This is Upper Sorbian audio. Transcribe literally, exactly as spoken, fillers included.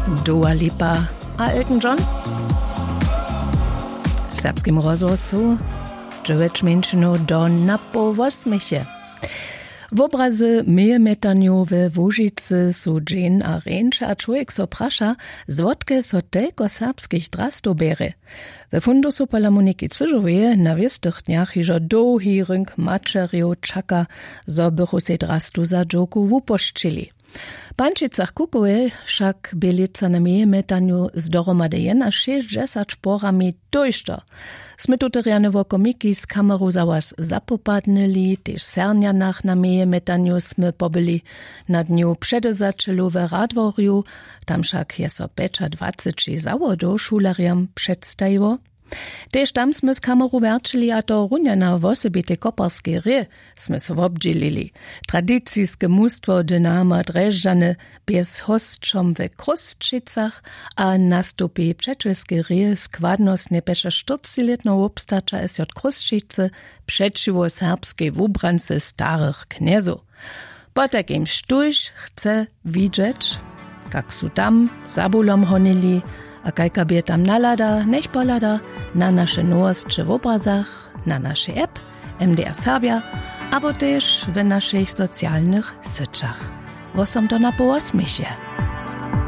Dua Lipa a Elton John. W serbskim rozhłosu dźewjeć mjeńšinow do napoł wosměche. Wobrazy w mějemetanju we Łužicy su dźeń a rjeńše a čłowjek so praša, zwotke so telko serbskich drastow bjerje. We fundusu pola Moniki Cyžoweje na wěstych dnjach hižo dołhi rynk maćerjow čaka, zo bychu sej drastu za dźowku wupošćili. W Pančicach Kukowej wšak bě lětsa na mějemetanju z dohromady jenašěsćdźesać porami tójšto. Smy tute rjane wokomiki z kameru za was zapopadnyli, tež w Sernjanach na mějemetanju smy pobyli. Na dnju předewzaćelow w Radworju, tam wšak je so pjećadwaceći zawodow šulerjam předstajiło. Tež tam smy z kameru wjerćili, a to runje na wosebitej koparskej hrě smy so wobdźělili. Tradiciske mustwo Dynama Drježdźany bě z hosćom we Chrósćicach a nastupi w přećelskej hrě składnostnje pjećaštyrcećilětneho wobstaća S J Chrósćicy přećiwo serbskej wubrance starych knjezow. Potajkim, štóž chce widźeć, kak su tam za bólom honili a kajka bě tam nalada, njech pohlada na naše nowosće w wobrazach, na našej app M D R Serbja abo tež w našich socialnych syćach. Wosom do napoł wosměch je.